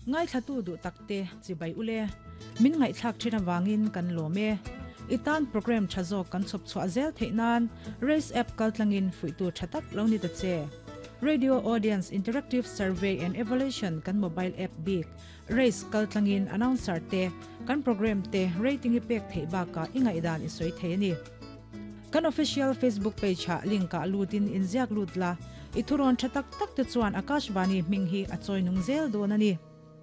Ngaithlatu duh takte chibai ule. Min ngaihthlak thin avangin kan lawm e. I tan program tha zawk kan chhawp chhuah zel theih nan Race app kaltlangin fuihtu tha tak lo ni ta che. Radio Audience Interactive Survey and Evaluation kan mobile app bik Race kaltlangin announcer te kan program te rating i pek theih bakah i ngaihdan i sawi thei a ni. Kan official Facebook page ah link ah lutin inziak lut la, i thurawn tha tak tak te chuan Akashvani hming hi a chawi nung zel dawn a ni.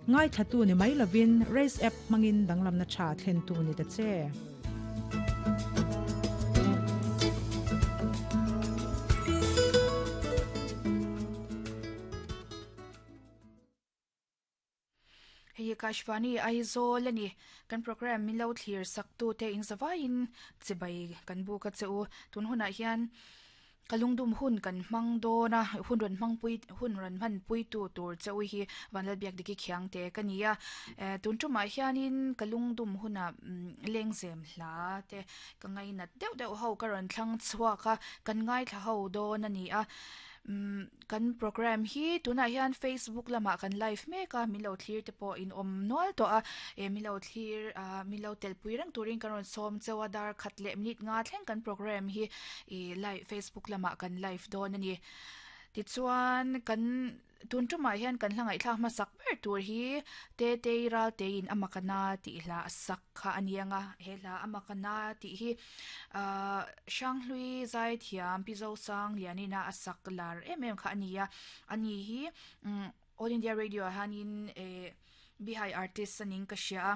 Ngaithlatu ni mai lovin Race app hmangin danglamna tha thlentu ni ta che. Hei hi Kashvani Aizawl a ni. Kan program min lo thlir sak tu te in zavaiin chibai kan buk a che u. Tun hunah hian ka lungdum hun kan hmang dawn a, hun rawn hmang pui hun rawn hman pui tu tur che u hi Vanlalbiak Diki Khiang te ka ni a. Eh tun tumah hianin ka lungdum hunah lengzem hla te ka ngainat deuh deuh ho ka rawn thlang chhuak a, kan ngaithla ho dawn a ni a. Umm. Kan program hi tunah hian Facebook lamah kan live mek a, min lo thlir te pawh in awm nual tawh a, eh min lo thlir ah min lo telpui reng turin kan rawn sawm cheu a, dar khat leh minute nga thleng kan program hi ih live Facebook lamah kan live dawn a ni. Tichuan kan tun tumah hian kan hla ngaihthlak hmasak ber tur hi Tetei Ralteiin a makana tih hla a sak. Kha a ni ang a, he hla a mak a na tih hi ahh Hranghlui Zaithiam Pi Zosang Lianina a sak lar em em kha a ni a, a ni hi umm All India Radio ah hianin eh Bihai artist a ning ka hria a,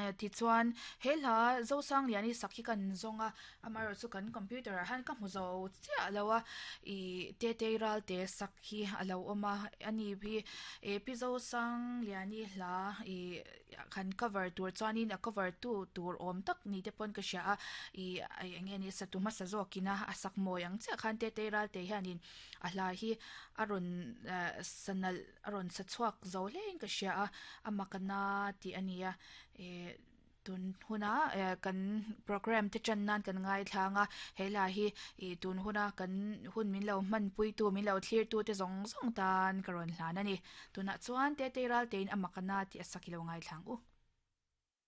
eh tichuan he hla Zosang Liani sak hi kan zawng a, amaherawhchu chu kan computer ah hian ka hmu zo chiah lo a, ih Tetei Ralte sak hi a lo awm a, a ni hi eh Pi Zosang Liani hla ih. Kan cover tur chuanin a cover tu tur awm tak ni te pawn ka hria a, ih eng nge ni satu hmasa zawkin a a sak mawi ang chiah khan Tetei Ralte hianin a hla hi a rawn sa nalh a rawn sa chhuak zo hlein ka hria a, a mak a na tih a nia ih tun huna kan program te tan nan kan ngaithlang a, he hla hi ih tun huna kan hun min lo hmanpuitu min lo thlirtu te zawng zawng tan ka rawn hlan a ni. Tunah chuan Tetei Raltein a mak a na tih a sak i lo ngaithlang u.